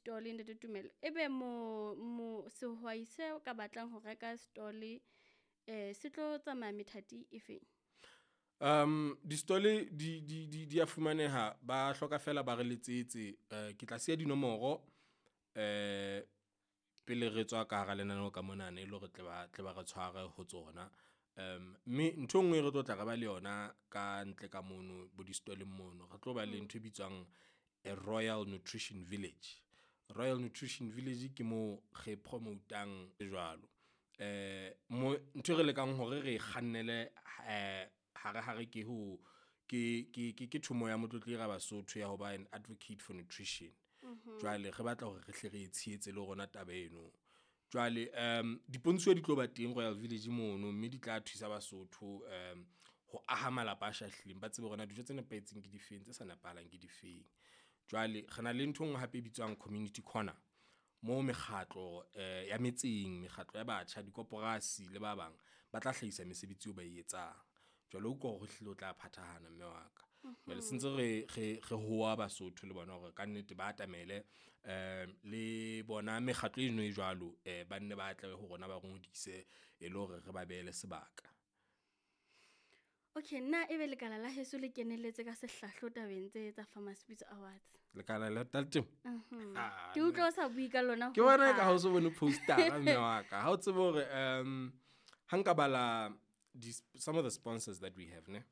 di-stall, ntate Tumelo. Ebe mo sehwai se ka batlang ho reka stall se tlo tsamaya methati e feng? Di-stall di a fumaneha, ba hloka feela ba re letsetse. Ke tla siya dinomoro pele re tswa ka hara lenaneo ka monana e le hore tle ba re tshware ho tsona. Mme nthwe nngwe e re tlo tla re ba le yona ka ntle ka mono bo di-stall-eng mono, re tlo ba le ntho e bitswang a Royal Nutrition Village. Royal Nutrition Village ke moo re promote-ang jwalo. Mo ntho e re lekang hore re kgannele hare hare ke ho ke thomo ya Motlotlehi Rabasotho ya hoba an advocate for nutrition. Jwale re batla hore re hle re tshehetse le rona taba eno. Jwale dipontsho di tlo ba teng Royal Village mono, mme di tla thusa Basotho ho aha malapa a shahlileng. Ba tsebe hore na dijo tse nepahetseng ke difeng tse sa nepahalang ke difeng. Jwale re na le ntho e nngwe hape e bitswang community corner moo mekgatlo ya metseng, mekgatlo ya batjha, dikoporasi le ba bang ba tla hlahisa mesebetsi eo ba e etsang. Jwale utlwa hore ehlile o tla phathahana mme wa ka. Jwale sentse re hoa Basotho le bona hore kannete ba atamele le bona mekgatlo eno e jwalo, ba nne ba tle ho rona, ba ngodise e le hore re ba behele sebaka. Okay, na ebe lekala la heso le kenelletse ka sehlahlo tabeng tse tsa Farmers Pitso Awards? Lekala la temo? Ah, ke utlwa o sa bue ka lona. Ke bona eka ha o so bone postera mme wa ka. Ha o tsebe hore ha nka bala some of the sponsors that we have ne.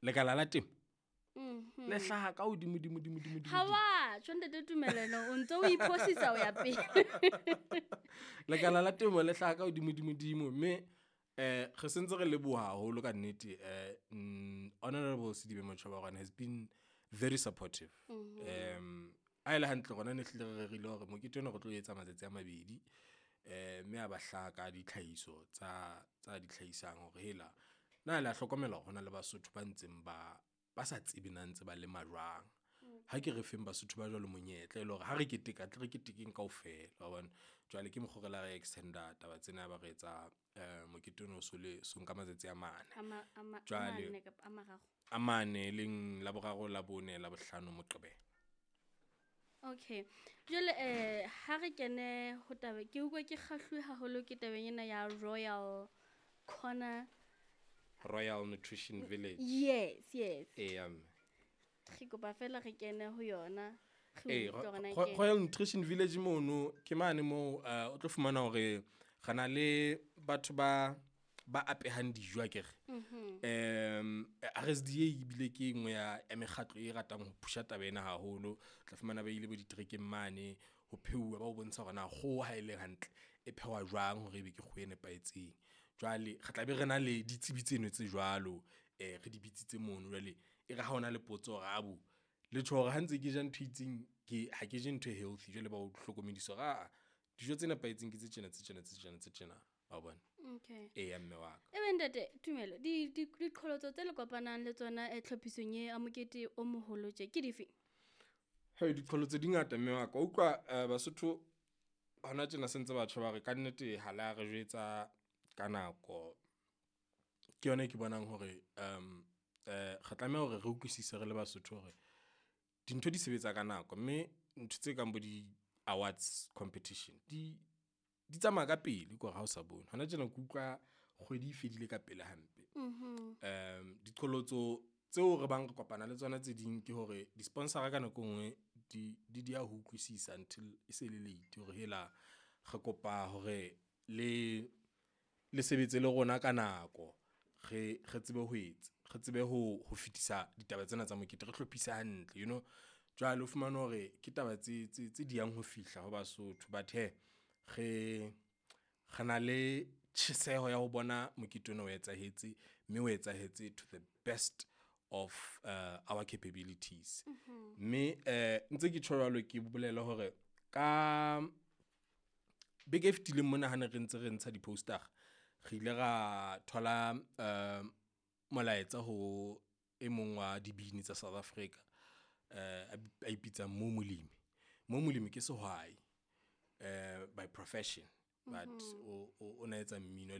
Lekala la temo le hlaha ka hodimo dimo dimo dimo dimo. Ha wa tjho ntate Tumelelo, o ntso o iphosisa o ya pele. Lekala la temo le hlaha ka hodimo dimo dimo mme re sentse re leboha haholo ka nnete. Honorable Sedibe Motjhoba has been very supportive. A ile hantle rona ne hlile re rerile hore mokete ona re tlo etsa matsatsi a mabedi, mme a ba hlaha ka ditlhahiso tsa di hlahisang hore hela na le a hlokomela hore hona le Basotho ba ntseng ba sa tsebe na ntse ba lema jwang. Ha ke re feng Basotho ba jwalo monyetla e le hore ha re keteka tle re ketekeng kaofela wa bona. Jwale ke mokgo re la re extend-a taba tsena ba re etsa mokete ono so le so nka matsatsi a mane. Jwale a mane leng la boraro, la bone, la bohlano, Moqebelo. Okay. Jwale ha re kene ho taba, ke utlwa ke kgahluwe haholo ke tabeng ena ya Royal Corner, Royal Nutrition Village. Yes, yes. Eya mme. Re kopa fela re kene ho yona. Royal Nutrition Village mono ke mane moo o tlo fumana hore re na le batho ba apehang dijo akere. RSDA ebile ke nngwe ya mekgatlo e ratang ho pusha taba ena haholo. Tla fumana ba ile bo ditrekeng mane ho pheuwa, ba o bontsha hore na kgoho ha ele hantle e phehwa jwang hore ebe ke kgoho e nepahetseng. Jwale re tla be re na le ditsebi tseno tse jwalo, re di bitsitse mono. Jwale e re ha hona le potso hore abo le tjho hore ha ntse ke ja ntho e itseng, ke ha ke je ntho e healthy. Jwale ba o hlokomedisa hore aa dijo tse nepahetseng ke tse tjena tse tjena tse tjena tse tjena wa bona. Okay. Eya mme wa ka. Ebe ntate Tumelo, diqholotso tse le kopanang le tsona tlhophisong e a mokete o moholo tje ke dife? Hey, diqholotso di ngata mme wa ka. Utlwa Basotho hona tjena sentse batho ba re ka nnete ha la re jwetsa ka nako. Ke yona e ke bonang hore re tlameha hore re utlwisise re le Basotho hore dintho di sebetsa ka nako, mme ntho tse kang bo di-awards competition di tsamaya ka pele ke hore ha o sa bone. Hona tjena ke utlwa kgwedi e fedile ka pele hampe. Diqholotso tseo re bang re kopana le tsona tse ding ke hore di-sponsor-a ka nako e nngwe di ya ho utlwisisa until e se le late hore hela re kopa hore le sebetse le rona ka nako. Re tsebe ho etsa, re tsebe ho fetisa ditaba tsena tsa mokete, re hlophise hantle, you know. Jwale o fumane hore ke taba tse diyang ho fihla ho Basotho. But hee re na le tjheseho ya ho bona mokete ona o etsahetse, mme o etsahetse to the best of our capabilities. Mme ntse ke tjho jwalo, ke bolele hore ka beke e fetileng mona ha ne re ntse re ntsha di-poster-a, re ile ra thola molaetsa ho e mong wa dibini tsa South Africa, a ipitsang Mo Molemi. Mo Molemi ke sehwai by profession, but o na etsa mmino.